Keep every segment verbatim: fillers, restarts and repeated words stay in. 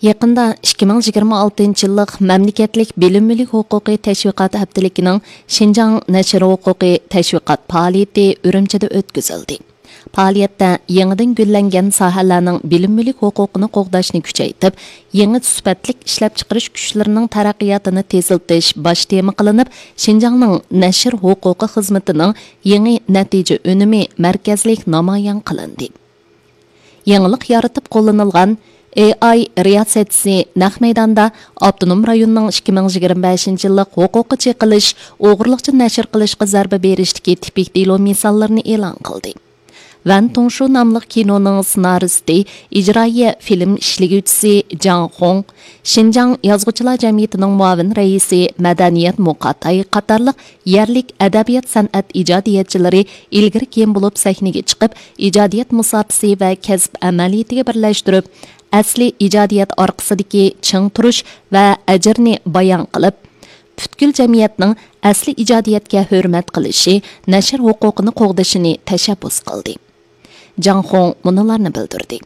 يېقىندا ئىككى مىڭ يىگىرمە ئالتىنچى يىللىق مەملىكەتلىك بىلىم مۈلۈك ھوقۇقى تەشۋىقات ھەپتىلىكىنىڭ شىنجاڭ نەشر ھوقۇقى تەشۋىقات پائالىيىتى ئۈرۈمچىدە ئۆتكۈزۈلدى. پائالىيەتتە يېڭىدىن گۈللەنگەن ساھەلەرنىڭ بىلىم مۈلۈك ھوقۇقىنى قوغداشنى كۈچەيتىپ، يېڭى سۈپەتلىك ئىشلەپچىقىرىش كۈچلىرىنىڭ تەرەققىياتىنى تېزلىتىش باش تېما قىلىنىپ، شىنجاڭنىڭ نەشر ھوقۇقى خىزمىتىنىڭ يېڭى نەتىجە ئۈنۈمى مەركەزلىك نامايان قىلىندى. يېڭىلىق يارىتىپ قوللىنىلغان ئېي ئاي رىياسەتچىسى نەق مەيداندا ئاپتونوم رايوننىڭ ئىككى مىڭ يىگىرمە بەشىنچى يىللىق ھوقۇققا چېقىلىش، ئوغرىلىقچە نەشر قىلىشقا زەربە بېرىشتىكى تىپىك دېلو مىساللىرىنى ئېلان قىلدى. ۋەن تۇڭشۇ ناملىق كىنونىڭ سېنارىستى، ئىجرائىيە فىلىم ئىشلىگۈچىسى جاڭ خۇڭ، شىنجاڭ يازغۇچىلار جەمئىيىتىنىڭ مۇئاۋىن رەئىسى، مەدەنىيەت مۇقاتاي قاتارلىق يەرلىك ئەدەبىيات-سەنئەت ئىجادىيەتچىلىرى ئىلگىرى-كېيىن بولۇپ سەھنىگە چىقىپ، ئىجادىيەت مۇساپىسى ۋە كەسىپ ئەمەلىيىتىگە بىرلەشتۈرۈپ، ئەسلىي ئىجادىيەت ئارقىسىدىكى چىڭ تۇرۇش ۋە ئەجىرنى بايان قىلىپ، پۈتكۈل جەمئىيەتنىڭ ئەسلىي ئىجادىيەتكە ھۆرمەت قىلىشى، نەشر ھوقۇقىنى قوغدىشىنى تەشەببۇس قىلدى. جاڭ خۇڭ مۇنۇلارنى بىلدۈردى.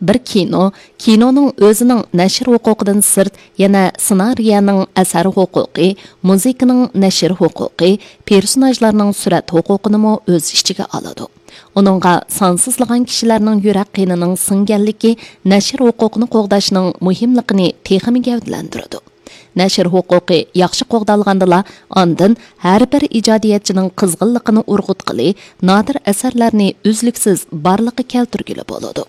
بىر كىنو، كىنونىڭ ئۆزىنىڭ نەشر ھوقۇقىدىن سىرت، يەنە سېنارىيەنىڭ ئەسەر ھوقۇقى، مۇزىكىنىڭ نەشر ھوقۇقى، پېرسوناژلارنىڭ سۈرەت ھوقۇقىنىمۇ ئۆز ئىچىگە ئالىدۇ. ئۇنىڭغا سانسىزلىغان كىشىلەرنىڭ يۈرەك قېنىنىڭ سىڭگەنلىكى نەشر ھوقۇقىنى قوغداشنىڭ مۇھىملىقىنى تېخىمۇ گەۋدىلەندۈرىدۇ. نەشر ھوقۇقى ياخشى قوغدالغاندىلا، ئاندىن ھەر بىر ئىجادىيەتچىنىڭ قىزغىنلىقىنى ئۇرغۇتقىلى، نادىر ئەسەرلەرنى ئۈزلۈكسىز بارلىققا كەلتۈرگىلى بولىدۇ.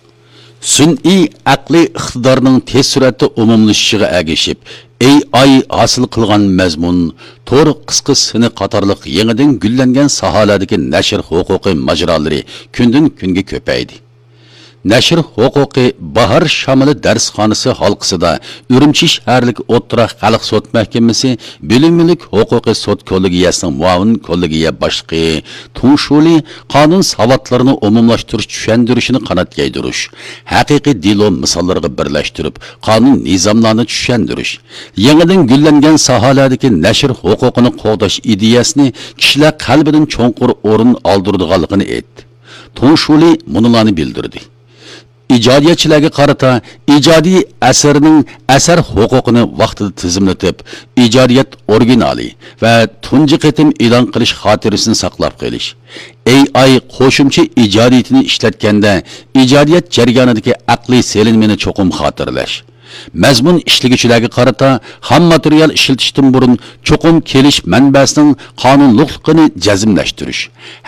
سۈنئىي ئەقلىي ئىقتىدارنىڭ تېز سۈرئەتتە ئومۇملىشىشىغا ئەگىشىپ، ئېي ئاي ھاسىل قىلغان مەزمۇن، تور قىسقا سىنى قاتارلىق يېڭىدىن گۈللەنگەن ساھەلەردىكى نەشر ھوقۇقى ماجىرالىرى كۈندىن-كۈنگە كۆپەيدى. نەشر ھوقۇقى باھار شامىلى دەرسخانىسى ھالقىسىدا ئۈرۈمچى شەھەرلىك ئوتتۇرا خەلق سوت مەھكىمىسى بىلىم مۈلۈك ھوقۇقى سوت كوللېگىيەسىنىڭ مۇئاۋىن كوللېگىيە باشلىقى تۇڭ شۇلى قانۇن ساۋاتلىرىنى ئومۇملاشتۇرۇش چۈشەندۈرۈشىنى قانات يايدۇرۇش، ھەقىقىي دېلو مىساللىرىغا بىرلەشتۈرۈپ، قانۇن نىزاملارنى چۈشەندۈرۈش، يېڭىدىن گۈللەنگەن ساھەلەردىكى نەشر ھوقۇقىنى قوغداش ئىدىيەسىنى كىشىلەر قەلبىدىن چوڭقۇر ئورۇن ئالدۇرىدىغانلىقىنى ئېيتتى. تۇڭ شۇلى مۇنۇلارنى بىلدۈردى. ئىجادىيەتچىلەرگە قارىتا ئىجادىي ئەسەرنىڭ ئەسەر ھوقۇقىنى ۋاقتىدا تىزىملىتىپ، ئىجادىيەت ئورىگىنالى ۋە تۇنجى قېتىم ئېلان قىلىش خاتىرىسىنى ساقلاپ قېلىش، ئېي ئاي قوشۇمچە ئىجادىيىتىنى ئىشلەتكەندە ئىجادىيەت جەريانىدىكى ئەقلىي سېلىنمىنى چوقۇم خاتىرىلەش، مەزمۇن ئىشلىگۈچىلەرگە قارىتا خام ماتېرىيال ئىشلىتىشتىن بۇرۇن چوقۇم كېلىش مەنبەسىنىڭ قانۇنلۇقلۇقىنى جەزملەشتۈرۈش،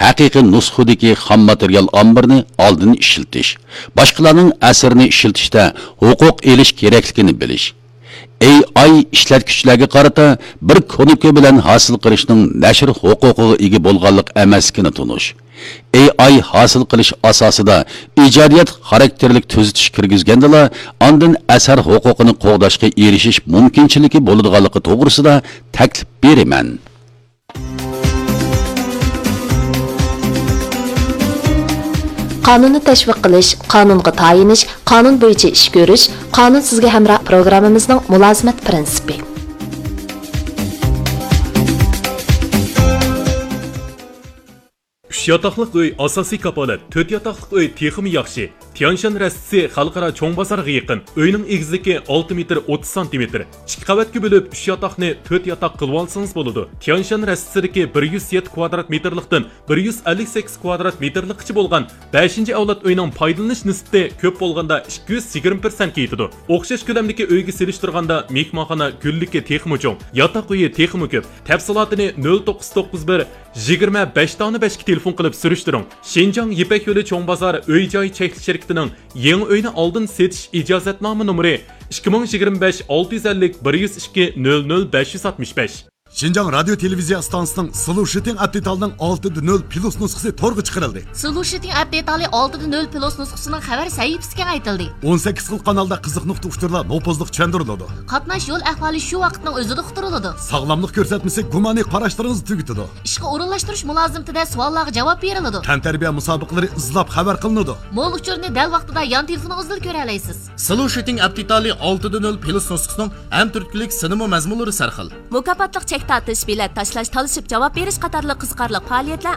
ھەقىقىي نۇسخىدىكى خام ماتېرىيال ئامبىرىنى ئالدىن ئىشلىتىش، باشقىلارنىڭ ئەسىرىنى ئىشلىتىشتە ھوقۇق ئېلىش كېرەكلىكىنى بىلىش، ئېي ئاي ئىشلەتكۈچىلەرگە قارىتا بىر كۇنۇپكا بىلەن ھاسىل قىلىشنىڭ نەشر ھوقۇقىغا ئىگە بولغانلىق ئەمەسلىكىنى تونۇش، ئېي ئاي ھاسىل قىلىش ئاساسىدا ئىجادىيەت خاراكتېرلىك تۈزىتىش كىرگۈزگەندىلا، ئاندىن ئەسەر ھوقۇقىنى قوغداشقا ئېرىشىش مۇمكىنچىلىكى بولىدىغانلىقى توغرىسىدا تەكلىپ بېرىمەن. قانۇننى تەشۋىق قىلىش، قانۇنغا تايىنىش، قانۇن بويىچە ئىش كۆرۈش، قانۇن سىزگە ھەمراھ پروگراممىمىزنىڭ مۇلازىمەت پىرىنسىپى. ئۈچ ياتاقلىق ئۆي ئاساسىي كاپالەت، تۆت ياتاقلىق ئۆي تېخىمۇ ياخشى. تيانشان رەستىسى خەلقئارا چوڭ بازارغا يېقىن. ئۆينىڭ ئېگىزلىكى ئالتە مېتىر ئوتتۇز سانتىمېتىر. ئىككى قەۋەتكە بۆلۈپ، ئۈچ ياتاقنى تۆت ياتاق قىلىۋالسىڭىز بولىدۇ. تيانشان رەستىسىدىكى بىر يۈز يەتتە كۋادرات مېتىرلىقتىن بىر يۈز ئەللىك سەككىز كۋادرات مېتىرلىققىچە بولغان بەشىنچى ئەۋلاد ئۆينىڭ پايدىلىنىش نىسبىتى كۆپ بولغاندا ئىككى يۈز يىگىرمە پىرسەنتكە يېتىدۇ. ئوخشاش كۆلەمدىكى ئۆيگە سېلىشتۇرغاندا مېھمانخانا گۈللۈكى تېخىمۇ چوڭ، ياتاق ئۆيى تېخىمۇ كۆپ. تەپسىلاتىنى نۆل توققۇز توققۇز بىر، يىگىرمە بەش دانە بەشكە تېلېفون قىلىپ سۈرۈشتۈرۈڭ. شىنجاڭ يىپەك يولى چوڭ بازار ئۆي جاي چەكلىك شىركىتىنىڭ يېڭى ئۆينى ئالدىن سېتىش ئىجازەتنامە نومۇرى ئىككى مىڭ يىگىرمە بەش ئالتە يۈز ئەللىك بىر يۈز ئىككى نۆل نۆل بەش يۈز ئاتمىش بەش. شىنجاڭ رادىيو تېلېۋىزىيە ئىستانسىسىنىڭ سلۇشىتىڭ ئەپ دېتالىنىڭ ئالتىدە نۆل پلۇس نۇسخىسى تورغا چىقىرىلدى. سلۇشىتىڭ ئەپ دېتالى ئالتىدە نۆل پلۇس نۇسخىسىنىڭ خەۋەر سەھىپىسى كېڭەيتىلدى. ئون سەككىز خىل قانالدا قىزىق نۇقتا ئۇچۇرلار نوپۇزلۇق چۈشەندۈرۈلىدۇ. قاتناش يول ئەھۋالى شۇ ۋاقىتنىڭ ئۆزىدە ئۇقتۇرۇلىدۇ. ساغلاملىق كۆرسەتمىسى گۇمانىي قاراشلىرىڭىزنى تۈگىتىدۇ. ئىشقا ئورۇنلاشتۇرۇش مۇلازىمىتىدە سوئاللارغا جاۋاب بېرىلىدۇ. تەنتەربىيە مۇسابىقىلىرى ئىزلاپ خەۋەر قىلىنىدۇ. مول ئۇچۇرنى دەل ۋاقتىدا يان تېلېفونىڭىزدىلا كۆرەلەيسىز. سلۇشىتىڭ ئەپ دېتالى ئالتىدە نۆل پلۇس نۇسخىسىنىڭ ھەم تۈرتكىلىك سىنىمۇ مەزمۇنلىرى سەرخىل. مۇكاپاتلىق چەك تارتىش، بېلەت تاشلاش، تالىشىپ جاۋاب بېرىش قاتارلىق قىزىقارلىق پائالىيەتلەر